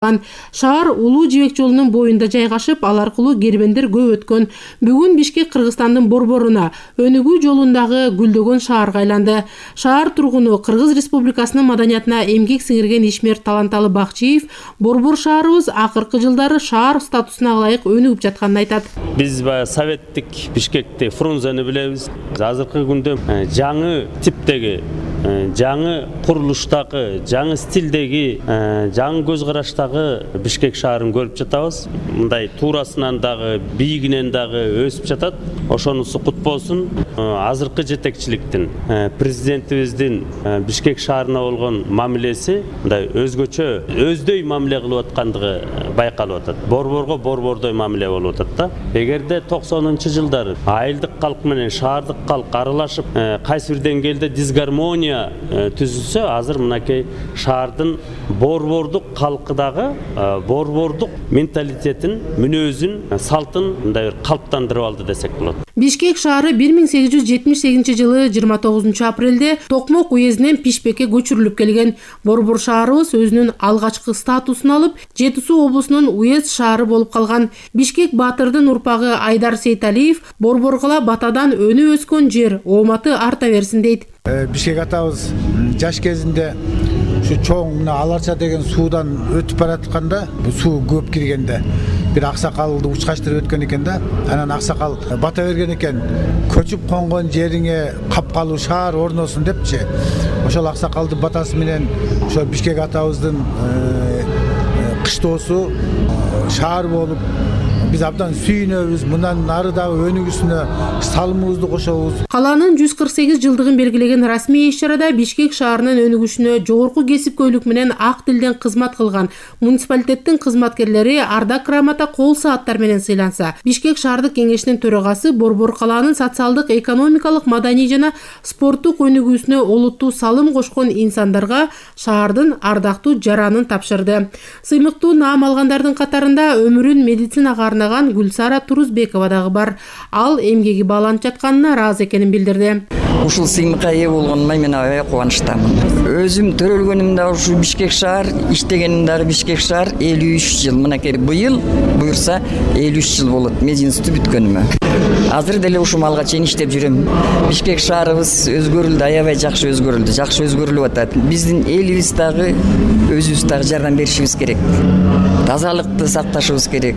Шаар улуу жибек жолунун боюнда жайгашып, ал аркылуу кербендер көп өткөн. Бүгүн Бишкек Кыргызстандын борборуна, өнүгүү жолундагы гүлдөгөн шаарга айланды. Шаар тургуну Кыргыз Республикасынын маданиятына эмгек сиңирген ишмер Таланталы Бакчиев борбор шаарыбыз акыркы жылдары шаар статусуна ылайык өнүгүп жатканын айтат. Биз советтик Бишкекте Фрунзени билебиз. Азыркы күндө жаңы типтеги, жаңы курулуштагы, жаңы стилдеги, жаңы көз караштагы Бишкек шаарын көрүп жатабыз. Мындай туурасынан дагы, бийигинен дагы өсүп жатат. Ошонусу кут болсун. Азыркы жетекчиликтин, президентибиздин Бишкек шаарына болгон мамилеси мындай өзгөчө, өздөй мамиле кылып аткандыгы байкалып атат. Борборго борбордой мамиле болуп атат да. Эгерде 90-жылдары айылдык калк менен шаардык калк аралашып, кайсы бир деңгээлде дисгармония түзүлсө, азыр мынакей шаардын борбордук калкы дагы борбордук менталитетин, мүнөзүн, салтын мындай бир калыптандырып алды десек болот. Бишкек шаары 1878 жылы 29 апрелде Токмок уездинен Пишпекке көчүрүлүп келген. Борбор шаарыбыз өзүнүн алгачкы статусун алып, Жети Суу облусунун уезд шаары болуп калган. Бишкек баатырдын урпагы Айдар Сейталиев борборгула батадан өнү өскөн жер, ооматы арта берсин дейт. Бишкек атабыз жаш кезинде ушу чоң мына Аларча деген суудан өтүп баратканда, бул суу көп киргенде бир аксакалды учкачтырып өткөн экен да. Анан аксакал бата берген экен, көчүп конгон жериңе капкалуу шаар орносун депчи. Ошол аксакалдын батасы менен ошо Бишкек атабыздын кыштоосу шаар болуп, биз абдан сүйүнөбүз. Мындан ары дагы өнүгүүсүнө салымыбызды кошобуз. Калаанын 148 жылдыгын белгилеген расмий иш-чарада Бишкек шаарынын өнүгүшүнө жогорку кесипкөйлүк менен ак тилден кызмат кылган муниципалитеттин кызматкерлери ардак грамота, кол сааттар менен сыйланса, Бишкек шаардык кеңешинин төрагасы борбор калаанын социалдык, экономикалык, маданий жана спорттук өнүгүүсүнө олуттуу салым кошкон инсандарга шаардын ардактуу жаранын тапшырды. Сыймыктуу наам алгандардын катарында өмүрүн медицинага арнаган Гүлсара Турузбекова дагы бар. Ал эмгеги бааланып жатканына ыраазы экенин билдирди. Ушул сыймыкка ээ болгонума мен аябай кубанычтамын. Өзүм төрөлгөнүм да ушу Бишкек шаар, иштегеним дагы Бишкек шаар. 53 жыл. Мынакей быйыл буюрса 53 жыл болот медицина институту бүткөнүмө. Азыр деле ушул малга чейин иштеп жүрөм. Бишкек шаарыбыз өзгөрүлдү, аябай жакшы өзгөрүлдү, жакшы өзгөрүлүп атат. Биздин элибиз дагы өзүбүз дагы жардам беришибиз керек. Тазалыкты сакташыбыз керек,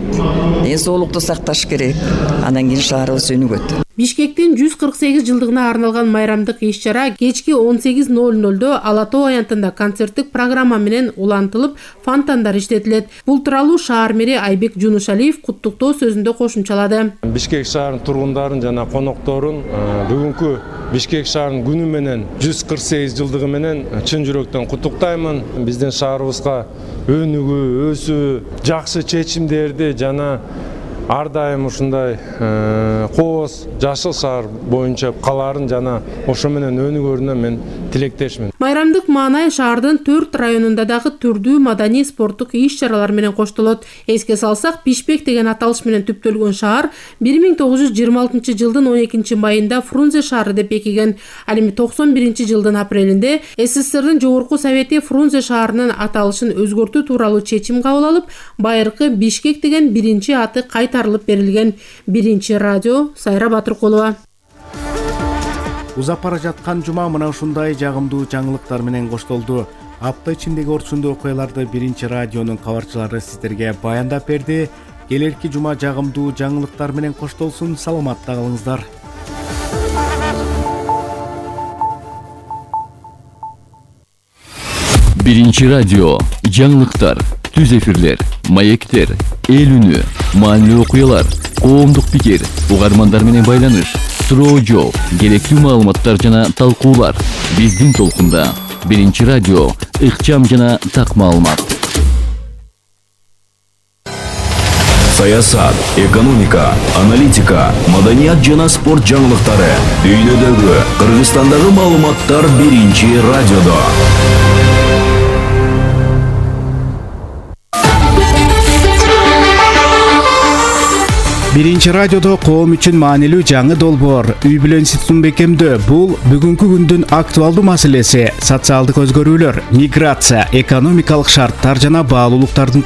ден соолукту сакташ керек. Андан кийин шаарыбыз өнүгөт. Бишкектин 148 жылдыгына арналган майрамдык иш-чара кечки 18:00 Ала Тоо аянтында концерттик программа менен улантылып, фонтандар иштетилет. Бул тууралуу шаар мэри Айбек Жунушалиев куттуктоо сөзүндө кошумчалады. Бишкек шаарынын тургундарын жана конокторун бүгүнкү Бишкек шаарынын күнү менен 148 жылдыгы менен чын жүрөктөн куттуктаймын. Биздин шаарыбызга өнүгүү, өсүү, жакшы чечимдерди жана ар дайым ушундай кооз жашыл шаар боюнча калаарын жана ошо менен өнүгөрүнө мен тилектешмин. Майрамдык маанай шаардын 4 районунда дагы түрдүү маданий спорттук иш-чаралар менен коштолот. Эске салсак, Пишпек деген аталыш менен түптөлгөн шаар 1926 жылдын 12 майында Фрунзе шаары деп бекиген. Ал эми 91 жылдын апрелинде СССРдин жогорку совети Фрунзе шаарынын аталышын өзгөртүү тууралуу чечим кабыл алып, байыркы Бишкек деген биринчи аты кайтарылып берилген. Биринчи радио Сайра Батыркулова. Узап бара жаткан жума мына ушундай жагымдуу жаңылыктар менен коштолду. Апта ичиндеги орчундуу окуяларды биринчи радионун кабарчылары сиздерге баяндап берди. Келерки жума жагымдуу жаңылыктар менен коштолсун. Саламатта калыңыздар. Биринчи радио жаңылыктар, түз эфирлер, маектер, эл үнү, маанилүү окуялар, коомдук пикир, угармандар менен байланыш, суроо жооп, керектүү маалыматтар жана талкуулар. Биздин толкунда Биринчи радио, ыкчам жана так маалымат. Саясат, экономика, аналитика, маданият жана спорт жаңылыктары, дүйнөдөгү, Кыргызстандагы маалыматтар Биринчи радиодо. Биринчи радиодо коом үчүн маанилүү жаңы долбоор үй бүлө институтун бекемдөө. Бул бүгүнкү күндүн актуалдуу маселеси. Социалдык өзгөрүүлөр, миграция, экономикалык шарттар жана баалуулуктардын